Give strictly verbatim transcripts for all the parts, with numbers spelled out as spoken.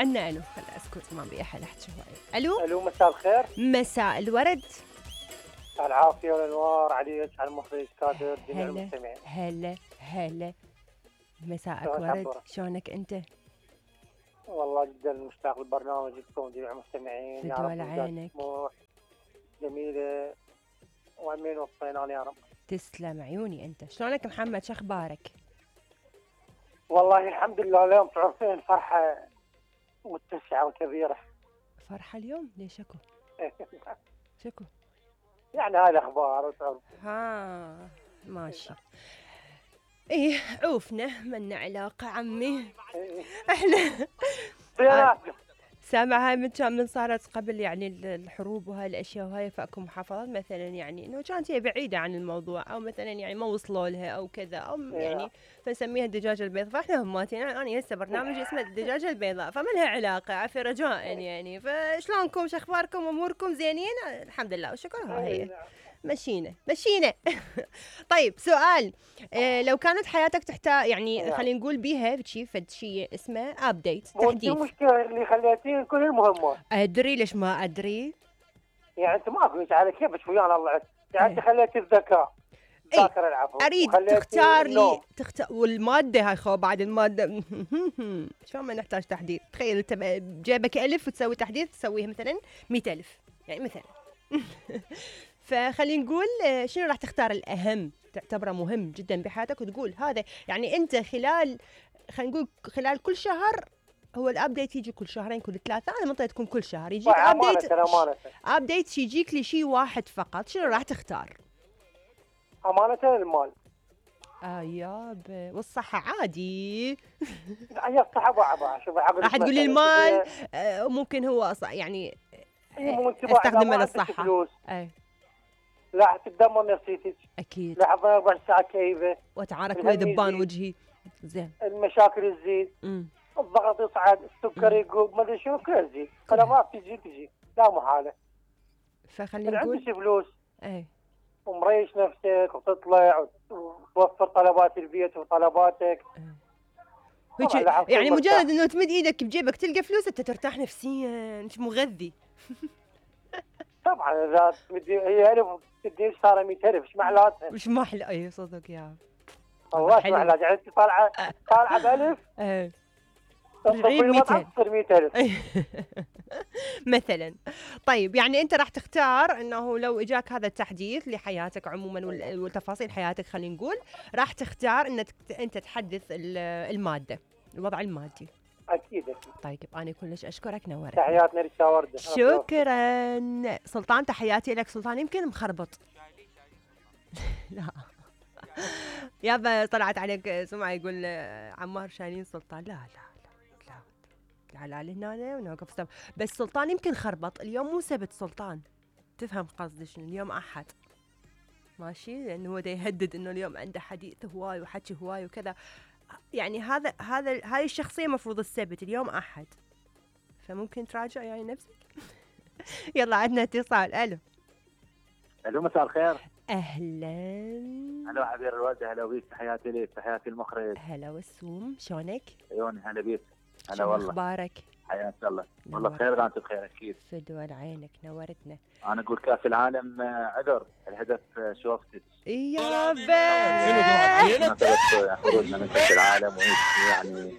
عنا الو خل اسكت ما ابي احد احكي هواي. الو الو مساء الخير. مساء الورد. العافيه والانوار عليك على المخرج كادر جميع هلا المستمعين. هلا هلا مساءك شلونك ورد. عبورة؟ شلونك انت؟ والله جدا مشتاق لبرنامجكم جميع المستمعين. في يا رب دول إنجاز عينك. طموح جميله وامين وصينان يا رب. تسلم عيوني انت. شلونك محمد شو اخبارك؟ والله الحمد لله اليوم تعرفين فرحه متسعه وكبيره. فرحه اليوم ليش اكو؟ شكو؟ يعني هاي الاخبار وتعرف. ها ماشي. ايه عوفنا منا علاقه عمي. احنا زيناتكم. سامع هاي من كان من صارت قبل يعني الحروب وهاي الاشياء وهاي فاكو محافظات مثلا يعني انه كانت هي بعيده عن الموضوع او مثلا يعني ما وصلوا لها او كذا او يعني فنسميها الدجاجه البيضاء. فاحنا هماتين يعني انا هسه برنامج اسمه الدجاجه البيضاء فما لها علاقه عافيه رجاء يعني. فشلونكم شو اخباركم اموركم زينين؟ الحمد لله والشكر. ها هي مشينا مشينا. طيب سؤال. إيه لو كانت حياتك تحتاج يعني خلينا نقول بيها شيء فد شيء اسمه ابديت تحديث. مو المشكله اللي خليتين كل المهمات. ادري ليش ما ادري؟ يعني انت ما قلت على كيفك ويانا الله يعني انت خليتي الذكاء ذاكره العفو. اريد تختار لي تختار والماده هاي خو بعد الماده. شلون ما نحتاج تحديث؟ تخيل انت بجيبك الف وتسوي تحديث تسويها مثلا مئة ألف يعني مثلا. فخلينا نقول شنو راح تختار الأهم تعتبره مهم جدا بحياتك وتقول هذا يعني أنت خلال خلينا نقول خلال كل شهر هو الابديت يجي كل شهرين كل ثلاثة. أنا منطقة تكون كل شهر يجيك ابديت. ابديت يجيك لشيء واحد فقط شنو راح تختار؟ أمانة المال. آه يابا والصحة عادي. هي الصحة بعضها شوف عقل. راح تقول لي المال آه ممكن هو يعني استخدمه للصحة. أي. لا تتدمر نفسيتك. اكيد. لحظه اربع ساعات كئيبه. وتعارك ويا ذبان وجهي. زين. المشاكل تزيد. الضغط يصعد، السكر يقوم، ما ادري شو كله تزيد، طلبات تجي تجي لا محاله. فخلينا نقول عندك فلوس. اي. ومريش نفسك وتطلع وتوفر طلبات البيت وطلباتك. يعني مجرد انه تمد ايدك بجيبك تلقى فلوس انت ترتاح نفسيا انت مغذي. طبعا اذا تمدي هي الف تدي صار مئة ألف ايش معناتها؟ ايش محلى اي صدق يا والله ايش معناتها يعني انت طالعه طالعه بألف ايه ترجعين مئتين مئة ألف مثلا. طيب يعني انت راح تختار انه لو اجاك هذا التحديث لحياتك عموما وتفاصيل حياتك خلينا نقول راح تختار انك انت تحدث الماده الوضع المادي. اكيد اكيد. طيب انا كلش اشكرك نورت. تحياتنا ريتا ورده. شكرا سلطان. تحياتي لك سلطان يمكن مخربط. لا يابا طلعت عليك سمعه يقول عمار شايلين سلطان. لا لا لا لا لا لا هنا ونوقف ستوب. بس سلطان يمكن خربط اليوم مو سبت سلطان تفهم قصدي شنو اليوم احد ماشي لانه هو دا يهدد انه اليوم عنده حديث هواي وحكي هواي وكذا يعني هذا هذا هاي الشخصيه مفروض السبت اليوم احد فممكن تراجع يعني نفسك. يلا عندنا اتصال. الو الو مساء الخير. اهلا. هلا عبير الوالده. هلا بيك. تحياتي لك تحياتي المخرج. هلا وسوم شلونك؟ عيوني هلا بيك. هلا والله. اخبارك؟ حياك الله. والله بخير وانت بخير اكيد. في دول عينك نورتنا. انا اقول كاس العالم عذر الهدف شوفتك. يا بابا خروجنا من كاس العالم يعني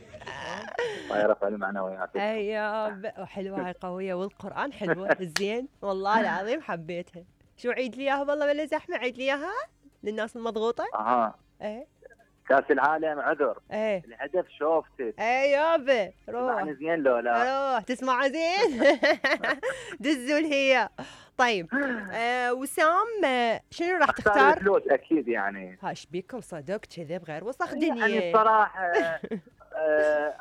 الله يرفع المعنويات. اي يا وحلوه هاي قويه والقران حلوه زين والله العظيم حبيتها. شو عيد لي اياها والله ولا زحمه عيد لي اياها للناس المضغوطه. اها ايه كاس العالم عذر. ايه الهدف شوفتك. ايه يابا روح تسمعني زين لو لا؟ روح تسمع زين. دزوا هي. طيب آه وسام شنو راح تختار؟ فلوس اكيد يعني. هاش بيكم صدق كذا بغير وسخ دنيا. يعني الصراحه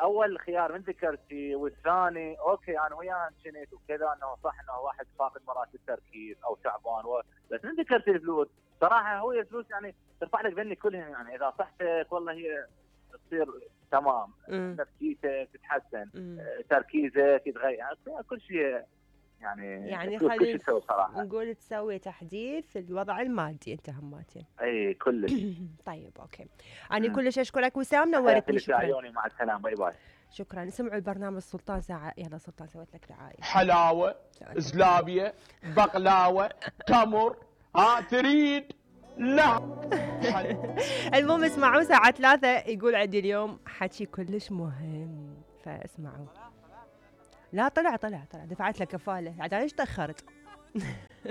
اول خيار من ذكرتي والثاني اوكي انا وياه انشنيت وكذا انه صح انه واحد فاقد مرات التركيز او تعبان و... بس من ذكرتي الفلوس صراحه هو الفلوس يعني ترفع لك ذنك كلهم يعني اذا صحتك والله هي تصير تمام نفسيتك تتحسن تركيزك يتغير يعني كل شيء يعني يعني خلينا نقول تسوي تحديث الوضع المادي انت هماتين. اي كلش. طيب اوكي انا كلش اشكرك وسام نورتني. شكرا. عيوني مع السلامه باي باي. شكرا. اسمعوا البرنامج سلطان ساعة. يلا سلطان سويت لك دعاية. حلاوة، زلابية، بقلاوة، تمر، ها تريد؟ لا. المهم اسمعوا ساعة ثلاثة يقول عندي اليوم حكي كلش مهم، فاسمعوا. لا طلع طلع طلع دفعت له كفالة، عاد ليش تأخرت؟